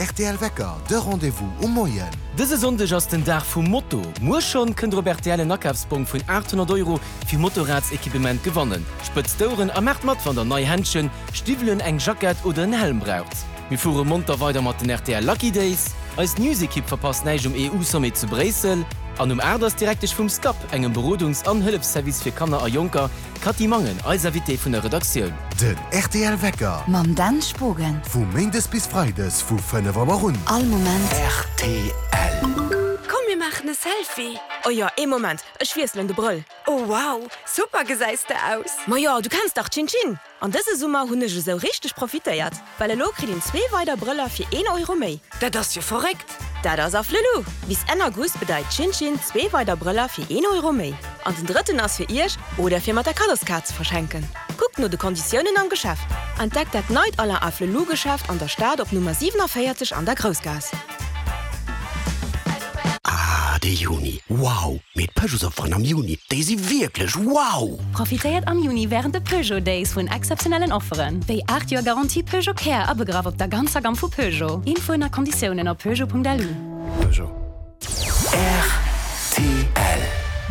rtl Wecker, de Rendez-vous um Moien. Dëse Sonndeg ass den Dag vum Moto. Muer schonn kënnt der op rtl en Akafsbong vun 800 Euro fir Motorradsequipement gewannen. Spëtzt d'Oueren a maacht mat wann der nei Händschen, Stiwwelen, eng Jackett oder en Helm braucht. Mir fuere monter weider mat den rtl Lucky Days. Eis News-Ekipp verpasst näischt um EU-Sommet zu Bréissel. An um 8 ass d'Direktesch vum SCAP, engem Berodungs an Hëllefsservice fir Kanner a Jonker, d'Cathy Mangen, eis Invitée vun der Redaktioun. Den rtl Wecker. Mam Dan Spogen. Vu Méindes bis Freides vu 5 Auer un. All Moment. Rtl. Komm mir maachen e Selfie! Oh jo, ee Moment, ech wiesselen de Brëll. Oh wow, super gesäis de aus! Majo, du kenns dach Chin Chin! An dëse Summer hunn ech esou richteg profitéiert, well elo kritt een zwee weider Brëller fir een Euro méi. Dat ass jo verréckt! Dat ass Afflelou! Bis Enn August bedeit Chin Chin zwee weider Brëller fir een Euro méi. An den drëtten ass fir iech oder fir mat der Kaddoskaart ze verschenken. Kuckt no de Konditiounen am Geschäft. Entdeckt dat neit Alain Afflelou Geschäft an der Stad op Nummer 47 an der Groussgaass. Ah, de Juni, wow! Mee d'Peugeotsofferen am Juni, déi si wierklech wow! Profitéiert am Juni wärend de Peugeot Days vun exzeptionellen Offeren, wéi 8 Joer Garantie Peugeot Care abegraff op der ganzer Gamm vu Peugeot. Infoen a Konditiounen op peugeot.lu. Peugeot. Rtl.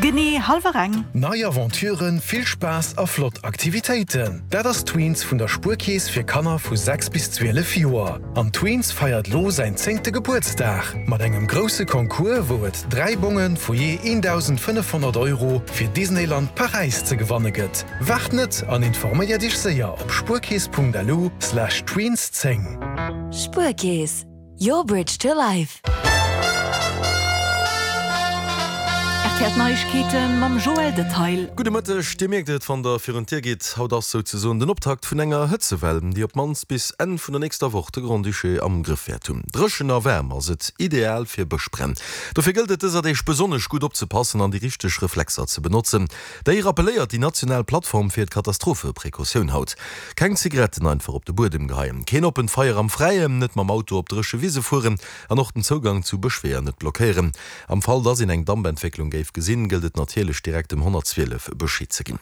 Genee hallwer eng. Nei Aventuren, vill Spaass a flott Aktivitéiten, dat ass Tweens vun der Spuerkeess fir Kanner vu 6 bis 12 Joer. An Tweens feiert lo säin zéngte Gebuertsdag mat engem grousse Concours, wou et 3 Bonge vu jee 1.500 Euro fir Disneyland Paräis ze gewanne gëtt. Waart net an informéiert iech séier op spuerkeess.lu slash tweens 10. Spuerkeess, your bridge to life. Rtl Neiegkeete mam Joël Detail. Gudde Mëtteg, Dir mierkt et, wann der virun d'Dier gitt, haut ass souzesoen den Optakt vun enger Hëtzewell, déi op d'mannst bis Enn vun der nächster Woch de Grand-Duché am Grëff wäert hunn. Dréchen a waarm ass et, ideal fir Bëschbränn. Dofir gëllt et dëser Deeg besonnesch gutt opzepassen an déi richteg Reflexer ze benotzen. Déi rappelléiert déi national Plattform fir d'Katastropheprecautioun haut. Keng Zigaretten einfach op de Buedem geheien, keen oppent Feier am Fräien, net mam Auto op dréche Wise fueren an och den Zougang zu Bëschweeër net blockéieren. Am Fall dass een eng Dampentwécklung géif gesinn, gëllt et natierlech direkt dem 112 Bescheed ze ginn.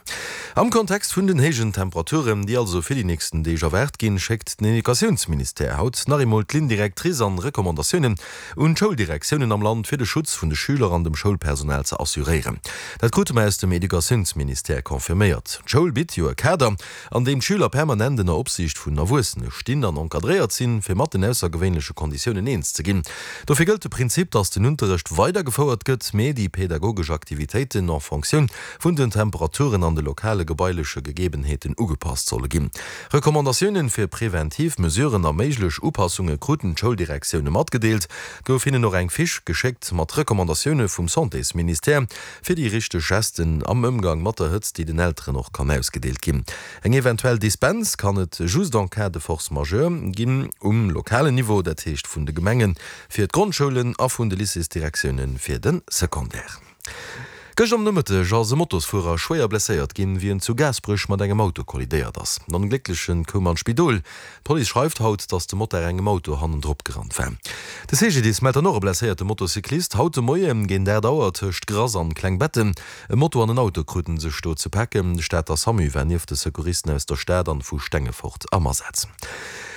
Am Kontext vun den héijen Temperaturen, déi also fir déi nächsten Deeg erwaart ginn, schéckt den Educatiounsministère haut nach eemol d'Ligne directrice an Recommandatiounen un d'Schouldirektiounen am Land, fir de Schutz vun de Schüler an dem Schoulpersonal ze assuréieren. Dat krute mer aus dem Educatiounsministère confirméiert. D'Schoul bitt jo e Kader, an deem d'Schüler permanent ënner Opsiicht vun Erwuessene stinn an encadréiert sinn, fir mat den aussergewéinleche Konditiounen eens ze ginn. Dofir gëllt de Prinzip, dass den Unterrecht weidergefouert gëtt, mee déi pädagogesch Aktivitéiten en Fonctioun vun den Temperaturen an de lokale gebaileche Gegebenheeten ugepasst solle ginn. Recommandatiounen fir preventiv Mesuren a méiglech Upassunge kruten d'Schouldirektioune matgedeelt. Et gouf hinnen och eng Fiche geschéckt mat Recommandatioune vum Santésministère, fir déi richteg Gesten am Ëmgang mat der Hëtzt, déi den Elteren och kann ausgedeelt ginn. Eng eventuell Dispens kann et just en cas de force majeure ginn um lokalen Niveau, dat heescht vun de Gemenge fir d'Grondschoulen a vun de Lycéesdirektioune fir de Secondaire. Gëscht am Nomëtteg ass e Motosfuerer schwéier blesséiert ginn, wéi en zu Gaasperech mat engem Auto kollidéiert ass. Den Ongléckleche koum an d'Spidol. D'Police schreift haut, datt de Motard engem Auto hannendrop gerannt war. De CGDIS mellt dann och e blesséierte Motocyclist. Haut de Moie géint 8 Auer tëscht Grass an Klengbetten. E Moto an en Auto kruten sech do ze paken. De Stater Samu war nieft de Secouristen aus der Stad an vu Stengefort am Asaz.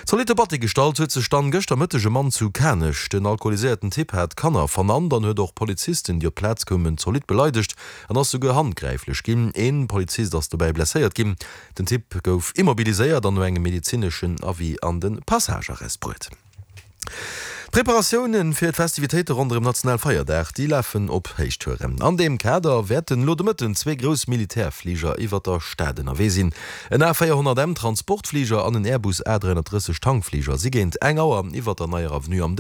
Zolitte Batti gestallt huet sech dann gëschter Mëtteg e Mann zu Kanech. Den alkoholiséierten Typ hat Kanner vernannt an huet och Polizisten, déi op d'Plaz koumen, zolidd beleidegt an ass souguer handgräiflech ginn. Een Polizist ass dobäi blesséiert ginn. Den Typ gouf immobiliséiert an no engem medezineschen Avis an de Passagearrest bruet. D'Preparatioune fir d'Festivitéite ronderëm Nationalfeierdag, déi lafen op Héichtouren. An deem Kader wäerten elo de Mëtten zwee grouss Militärfliger iwwer der Stad ënnerwee sinn. En A 400 M Transportfliger an en Airbus A 330 Tankfliger si géint eng Auer iwwer der Neier Avenue am.